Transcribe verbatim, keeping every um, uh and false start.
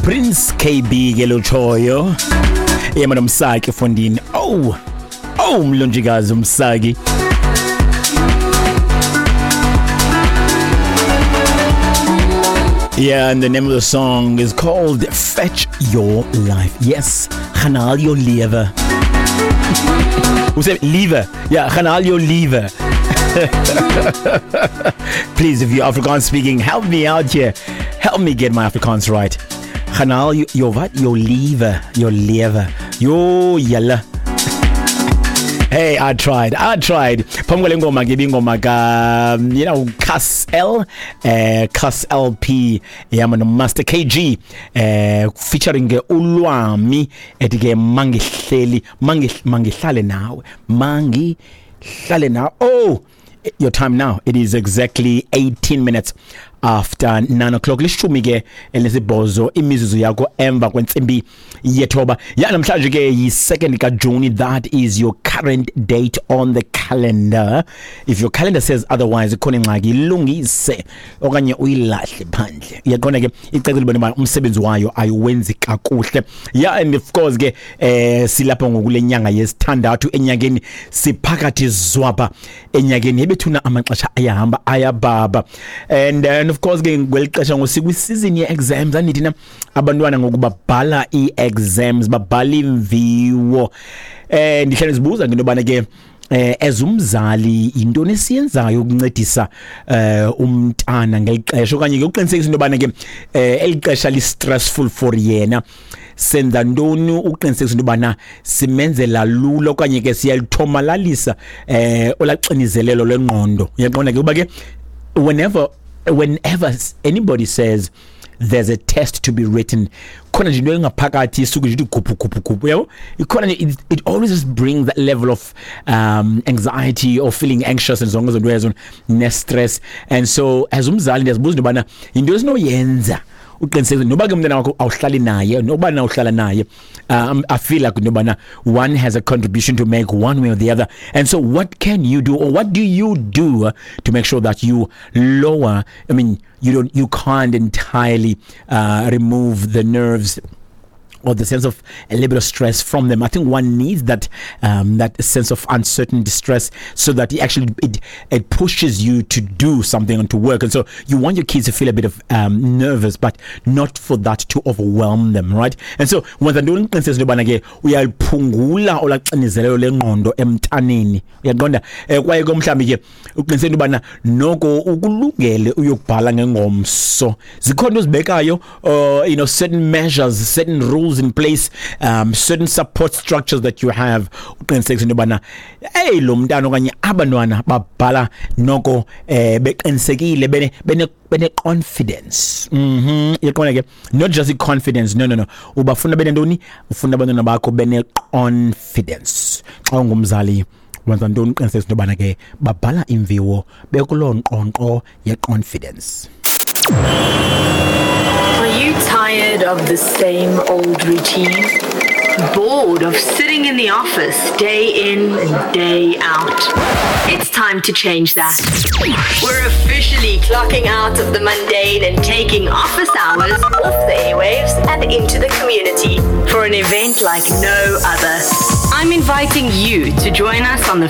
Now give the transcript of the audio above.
Prince K B ke lotshoyo yema noMsaki fondini. Oh oh, mlonjikazi uMsaki. Yeah, and the name of the song is called Fetch Your Life. Yes, gaan haal jou lewe. Hoe sê lewe? Ja, gaan haal jou lewe. Please, if you're Afrikaans speaking, help me out here. Help me get my Afrikaans right. Gaan haal jou, jou wat? Jou lewe, jou lewe. Yo, julle. Hey, I tried. I tried. Phambi kwale ngoma ke ibingoma ka you know Cas L, eh Cas L P yama no Master K G eh featuring ke uLwami, ethi ke mangihleli mangihlale nawe, mangihlale nawe. Oh, your time now, it is exactly eighteen minutes after nine o'clock, lishumi ke elinesibhozo imizuzu yakho emva kwentsimbi yethoba. Ya, namhlanje ke yi-second kaJuni. That is your current date on the calendar. If your calendar says otherwise, ikhona ingxaki, ilungise okanye uyilahle phandle. Uyaqonda ke, icacile libone uba umsebenzi wayo ayiwenzi kakuhle. Yeah, and of course ke eh silapha ngokule nyanga yesithandathu enyakeni, siphakathi zwapha enyakeni ebethuna, amaxesha ayahamba ayababa. and and of course ke kweli xesha ngosikwi-season ye-exams, andithi na abantwana ngoku babhala ii-exams, babhala imviwo. eh ndihlale ndizibuza ngento yobana ke eh as umzali intoni esiyenzayo ukuncedisa eh umntana ngeli xesha, okanye ke uqinisekisa into yobana ke eh eli xesha li stressful for yena, senza ntoni ukuqinisekisa into yobana simenzela lula okanye ke siyalithomalalisa eh olaxinizelelo lwengqondo? Uyaqonda ke uba ke whenever whenever anybody says there's a test to be written, khona nje into engaphakathi isuke nje ithi guphu guphu guphu, yabo, ikhona nje. it, it always just brings that level of um anxiety or feeling anxious and zonke izinto ezo ne-stress. And so as umzali ndiyazibuza into yobana yinto esinoyenza uqinisekise noba ke umntana wakho awuhlali naye, noba na uhlala naye. um, I feel like into yobana one has a contribution to make one way or the other. And so what can you do, or what do you do to make sure that you lower, I mean, you don't you can't entirely uh, remove the nerves or the sense of a little bit of stress from them. I think one needs that um, that sense of uncertain distress so that it actually it, it pushes you to do something and to work. And so you want your kids to feel a bit of um, nervous, but not for that to overwhelm them, right? And so wenza ntoni uqiniseka into yobana ke uyaliphungula olaxinizelelo lengqondo emntaneni? Uyaqonda, um kwaye ke mhlawumbi ke uqiniseka into yobana noko ukulungele uyokubhala ngengomso. Zikhona into ozibekayo, uh, you know certain measures, certain rules in place, um certain support structures that you have, uqinisekisa into yobana hey, lo mntana okanye abantwana babhala noko eh beqinisekile, bene bene bene confidence. mhm yaqonda ke, not just i confidence, no no no ubafuna benentoni? Ufuna abantwana bakho bene confidence. Xa ungumzali, wenza ntoni uqinisekisa into yobana ke babhala imviwo bekuloo nkqonkqo ye-confidence? Are you tired of the same old routine? Bored of sitting in the office day in and day out? It's time to change that. We're officially clocking out of the mundane and taking office hours off the airwaves and into the community for an event like no other. I'm inviting you to join us on the